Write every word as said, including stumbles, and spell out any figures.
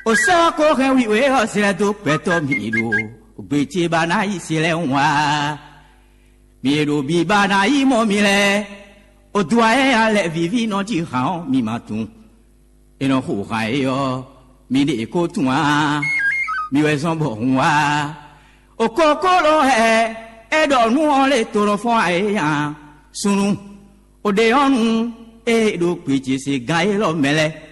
O sɔ́ ko hɛn wiwe ɔ́ zlɛ́ dó gbɛtɔ́ mi ɖo gbě ce ba ná yi se lɛ́ɛ wá. Mi e ɖo biba ná yi mɔ mi lɛ́ɛ, o dó ayɛ́ ya lɛ vǐví nɔ jí han ɔ́, mi ma tunwun. È nɔ xo han é ɔ́, mi ɖe ko tunwun ǎ. Mi wɛ zɔ́n bɔ hun wá. O kókó lɔ hɛ é ɖɔ nú ɔ́ lé tonɔ fɔ́n ayé nya. Súnnu, o ɖe ɔ́ nu, é ɖo gbě ce se gán élɔ́ mɛ lɛ́ɛ.